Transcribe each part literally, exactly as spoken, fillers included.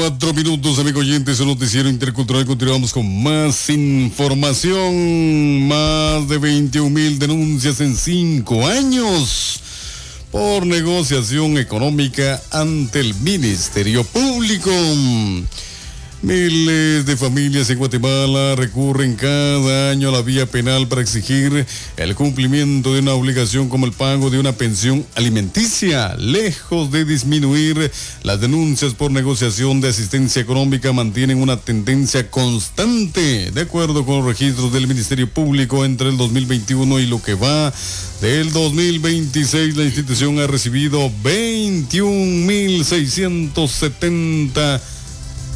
cuatro minutos, amigo oyentes, un noticiero intercultural. Continuamos con más información. Más de veintiún mil denuncias en cinco años por negociación económica ante el Ministerio Público. Miles de familias en Guatemala recurren cada año a la vía penal para exigir el cumplimiento de una obligación como el pago de una pensión alimenticia. Lejos de disminuir, las denuncias por negociación de asistencia económica mantienen una tendencia constante. De acuerdo con los registros del Ministerio Público, entre el dos mil veintiuno y lo que va del dos mil veintiséis, la institución ha recibido veintiún mil seiscientos setenta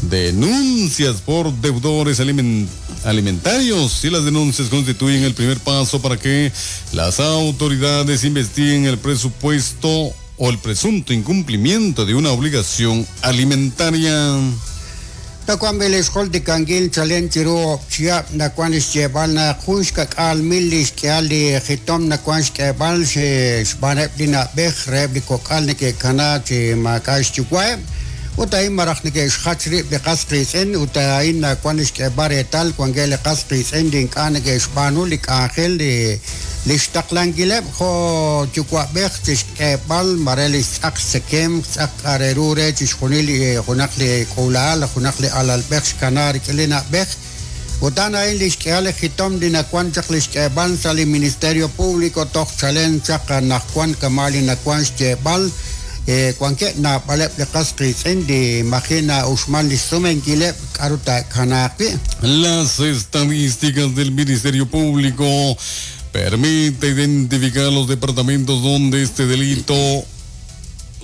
denuncias por deudores aliment- alimentarios, y las denuncias constituyen el primer paso para que las autoridades investiguen el presupuesto o el presunto incumplimiento de una obligación alimentaria. Nakuan beleshol de kangil chalen chiro chia nakuan xchebal na junxka k'al mil xk'al li jitom nakuan xk'ebal xbaneb li nab'ej reb li kok'al neke'kana chi maak'a' xyuwa'eb ut a'in maraj neke'xjach rib' li qas qiitz'in ut a'in nakuan xk'eb'al reetal wankeb' li qas qiitz'in li ink'a' neke'xb'aanu li k'anjel li li xtaqlankileb' jo' yuwa'b'ej chi xk'eb'al mare li xtz'aq xtzekem xtz'aq k'areru re chixjunil li junaq li k'uula'al junaq li alalb'ej xkana rik'in li na'b'ej ut a'an a'in li xk'ehal li jitom li nakuan chaq li xk'eb'al sa' li Ministerio Público toj chalen chaq najkuan kama' li nakuan xyeeb'al wankeb' naab'aleb' li qas qiitz'in li imagina uxmal li xsumenkileb' k'aru taakanaaq wi'. Las estadísticas del Ministerio Público permite identificar los departamentos donde este delito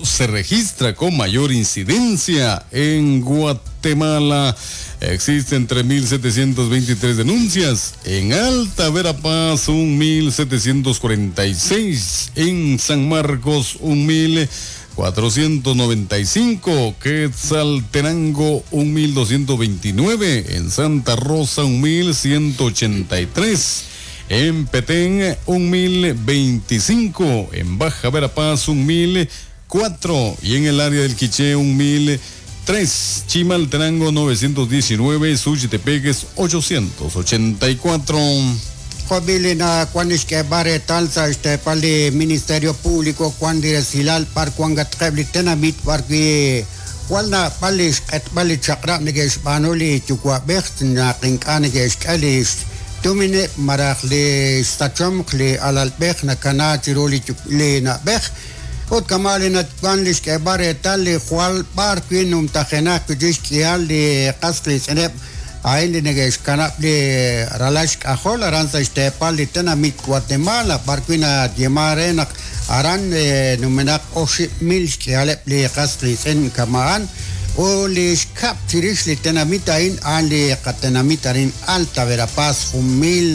se registra con mayor incidencia. En Guatemala existen tres mil setecientas veintitrés denuncias, en Alta Verapaz un mil setecientos cuarenta y seis, en San Marcos un mil cuatrocientos noventa y cinco, Quetzaltenango un mil doscientos veintinueve, en Santa Rosa un mil ciento ochenta y tres, en Petén un mil veinticinco, en Baja Verapaz un mil cuatro y en el área del Quiché un mil tres, Chimaltenango novecientos diecinueve, Suchitepeques ochocientos ochenta y cuatro. Jobili na kuan xk'eb'al reetal sa' xteepal li Ministerio Público kuan li resilal par kuan gatqeb' li tenamit b'arwi jwal naab'al li xq'etb'al li chaq'rab' neke'xb'aanu li yuwa'b'ej naq ink'a' neke'xk'e li xtumineb' maraj li xsachomq li alalb'ej nakana chiru li li na'b'ej ut kama' li natwan li xk'eb'al reetal li jwal b'ar wi numtajenaq wi xk'ihal li qas qiitz'ineb' a'in li neke'xkanab' li ralal xk'ajol aran sa' xteepal li tenamit Guatemala b'ar wi nayeema re naq aran numenaq oxib' mil xk'ihaleb' li qas qiitz'in kama'an u li xkab' chirix li tenamit a'in a'an li qatenamit arin Alta Verapaz jun mil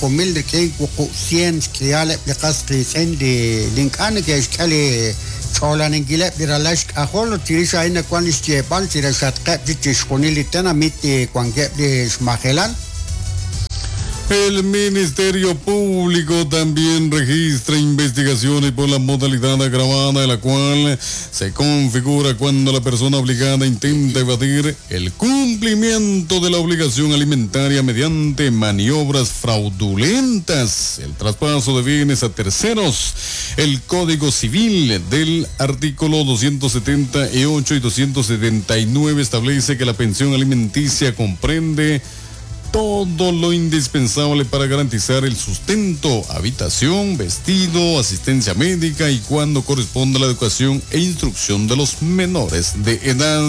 jun mil rik'in wuqub' cien xk'ihaleb' li qas qiitz'in li ink'a' neke'xk'e li ch'olaninkileb' li ralal xk'ajol chirix a'in nakuan li xyeeb'al chirixatqeb' chixjunil li tenamit wankeb' li xmajelal. El Ministerio Público también registra investigaciones por la modalidad agravada, de la cual se configura cuando la persona obligada intenta evadir el cumplimiento de la obligación alimentaria mediante maniobras fraudulentas, el traspaso de bienes a terceros. El Código Civil del artículo doscientos setenta y ocho y doscientos setenta y nueve establece que la pensión alimenticia comprende todo lo indispensable para garantizar el sustento, habitación, vestido, asistencia médica y cuando corresponda la educación e instrucción de los menores de edad.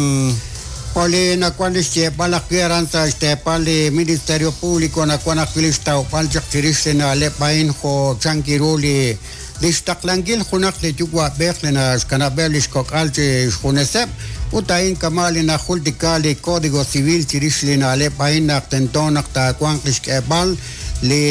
Oli nakuan xyeeb'al ajwi' aran sa' xteepal li Ministerio Público nakuan ajwi' li xtawb'al chaq chirix li na'leb' a'in jo' chan kiru li li xtaqlankil junaq li yuwa'b'ej li naxkanab'eb' li xkok'al chi xjuneseb' ut a'in kama' li najultika li Código Civil chirix li na'leb' a'in naq tento naq taawanq li xk'eb'al li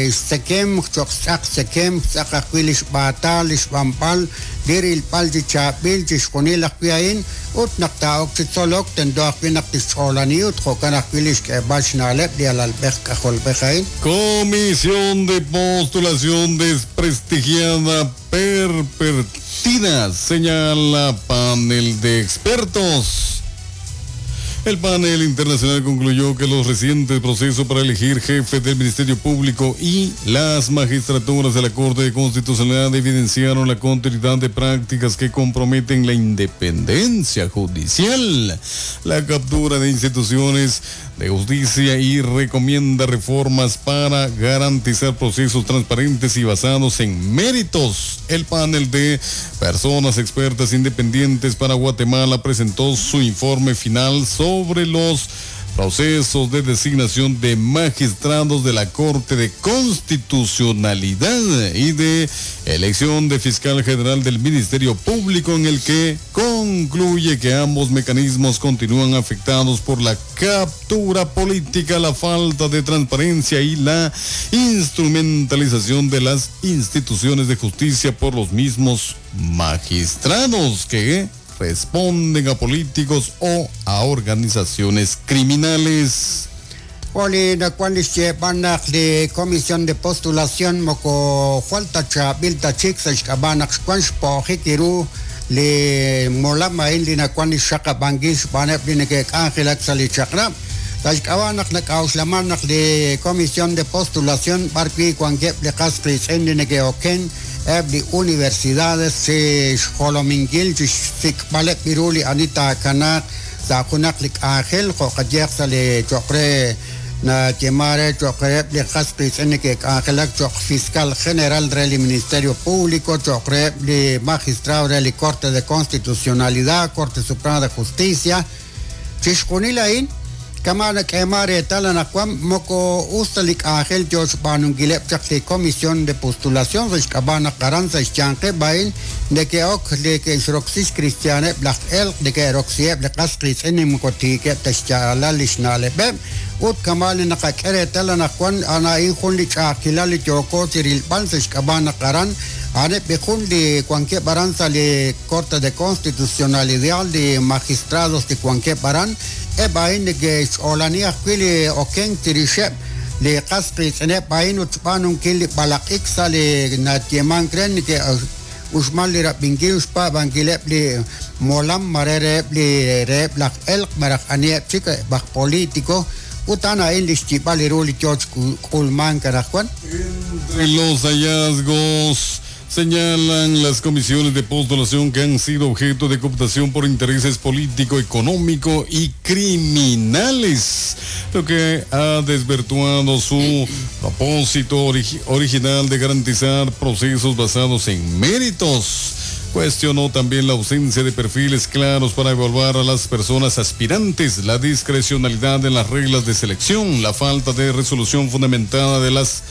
xtzekem cho'q xtz'aq xtzekem xtz'aq ajwi' li xb'aatal li xb'anb'al li rilb'al chi chaab'il chixjunil ajwi' a'in ut naq taa'ok chi tzolok tento ajwi' naq tixch'oolani ut jo'kan ajwi' li xk'eb'al xna'leb' li alalb'ej k'ajolb'ej a'in. Comisión de Postulación desprestigiada, pervertida, señala panel de expertos. El panel internacional concluyó que los recientes procesos para elegir jefe del Ministerio Público y las magistraturas de la Corte de Constitucionalidad evidenciaron la continuidad de prácticas que comprometen la independencia judicial, la captura de instituciones de justicia y recomienda reformas para garantizar procesos transparentes y basados en méritos. El panel de personas expertas independientes para Guatemala presentó su informe final sobre los procesos de designación de magistrados de la Corte de Constitucionalidad y de elección de fiscal general del Ministerio Público, en el que concluye que ambos mecanismos continúan afectados por la captura política, la falta de transparencia y la instrumentalización de las instituciones de justicia por los mismos magistrados que responden a políticos o a organizaciones criminales. Oli nakuan lixyeeb'al li comisión de postulación moko jwal tachaab'il tachik sa' xk'ab'a' naq xwan xpo'jik iru li molam a'in li nakuan li xaqab'ankil xb'aaneb' li neke'k'anjelak sa' li chaq'rab'. Sa' xk'ab'a' naq nak'a'uxlaman naq li comisión de postulación b'ar wi' wankeb' li qas qiitz'in li neke'oken eb' li universidades chi xjolominkil chi xsik'b'aleb' iru li ani taakanaaq sa' junaq li k'anjel jo' qayehaq sa' li cho'q re nayeema re cho'q reheb' li qas qiitz'in neke'k'anjelak cho'q fiscal general re li Ministerio Público, cho'q reheb' li magistrado re li Corte de Constitucionalidad, Corte Suprema de Justicia. Chi xjunil a'in kama nak'eema reetal anaqwan moko us ta li k'anjel yo xb'aanunkileb' chaq li comisión de postulación sa' xk'ab'a' naq aran sa' xyanqeb' a'in neke'ok li ke'xroksi xkristianeb' laj elq' neke'roksiheb' li qas qiitz'in moko tiikeb' ta xyaalal li xna'leb'eb' ut kama li naqak'e reetal anaqwan ana'in jun li ch'a'ajkilal li yooko chi rilb'al sa' xk'ab'a' naq aran aneb' jun li wankeb' aran sa' li Corte de Constitucionalidad li magistrados li wankeb' aran eb' a'in neke'xch'oolani ajwi' li okenk chirixeb' li qas qiitz'ineb' a'in ut xb'aanunkil li b'alaq'ik sa' li nayeemank re neke'uxman li rab'inkil xpaab'ankileb' li molam mare reheb' li reheb' laj elq' malaj aniheb' chik aj político ut a'an a'in li xyib'al ru li yoo xk'ulmank anaqwan. Entre los hallazgos señalan las comisiones de postulación que han sido objeto de cooptación por intereses político, económico y criminales, lo que ha desvirtuado su propósito origi- original de garantizar procesos basados en méritos. Cuestionó también la ausencia de perfiles claros para evaluar a las personas aspirantes, la discrecionalidad en las reglas de selección, la falta de resolución fundamentada de las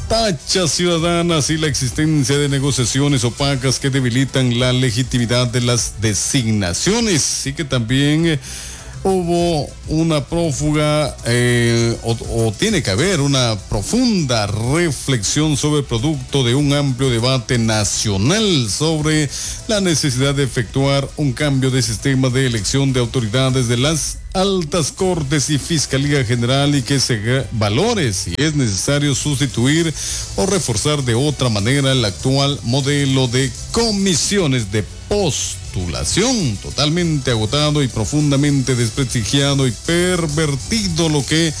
tachas ciudadanas y la existencia de negociaciones opacas que debilitan la legitimidad de las designaciones, y que también eh, hubo una prófuga eh, o, o tiene que haber una profunda reflexión sobre el producto de un amplio debate nacional sobre la necesidad de efectuar un cambio de sistema de elección de autoridades de las altas cortes y Fiscalía General, y que se valore si es necesario sustituir o reforzar de otra manera el actual modelo de comisiones de postulación, totalmente agotado y profundamente desprestigiado y pervertido, lo que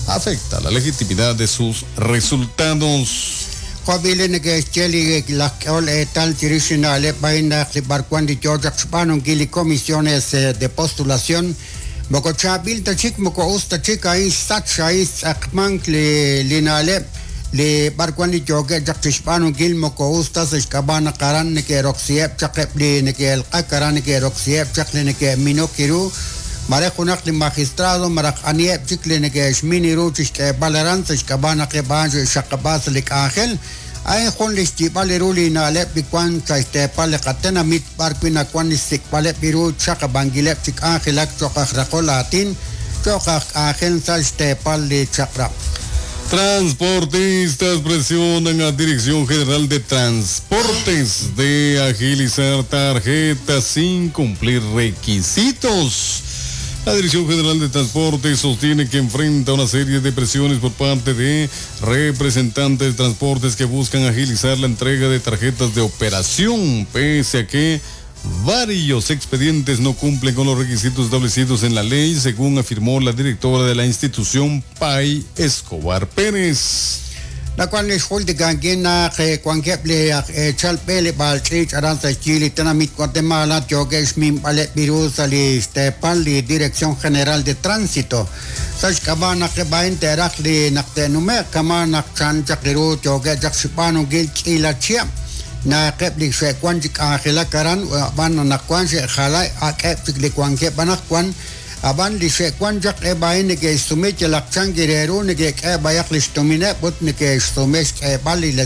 afecta la legitimidad de sus resultados. Jobile neke'xye laj k'ehol eetal chirix na'leb' a'in naq li b'arwan li yoo chaq xb'aanunkil li comisiones de postulación moko chaab'il ta chik moko us ta chik a'in xsach a'in xtz'aqmank li li na'leb' li b'arwan li yookeb' chaq chixb'aanunkil moko us ta sa' xk'ab'a' naq aran neke'roksiheb' chaq eb' li neke'elq'ak aran neke'roksiheb' chaq li neke'minok iru mare junaq li magistrado maraj aniheb' chik li neke'xmin iru chixk'eeb'al aran sa' xk'ab'a' naq eb' a'an xe'xaqab'a sa' li k'anjel a'in jun li xyib'al iru li na'leb' li wan sa' xteepal li qatenamit b'ar wi' nawan li xsik'b'aleb' iru xaqab'ankileb' chi k'anjelak cho'q aj raqol aatin cho'q aj k'anjel sa' xteepal li chaq'rab'. Transportistas presionan a Dirección General de Transportes de agilizar tarjetas sin cumplir requisitos. La Dirección General de Transportes sostiene que enfrenta una serie de presiones por parte de representantes de transportes que buscan agilizar la entrega de tarjetas de operación, pese a que Varios expedientes no cumplen con los requisitos establecidos en la ley, según afirmó la directora de la institución, Pay Escobar Pérez. Nawan li xjultikankil naq wankeb' li aj eechal b'eleb'aal ch'iich' aran sa' xyi li tenamit Guatemala yookeb' xminb'aleb' ru sa' li xteepal li Dirección General de Tránsito sa' xk'ab'a' naq eb' a'in te'raj li naq te'nume'q kama' naq chan chaq li ru yookeb' chaq xb'aanunkil k'iila chihab' naqeb' li xe'wan chi k'anjelak aran ab'an anaqwan xe'jala ak'eb' chik li wankeb' anaqwan ab'an li xe'wan chaq eb' a'in neke'xsume yalaq chan ru neke'k'e b'ayaq li xtumineb' ut neke'xsume xk'eeb'al li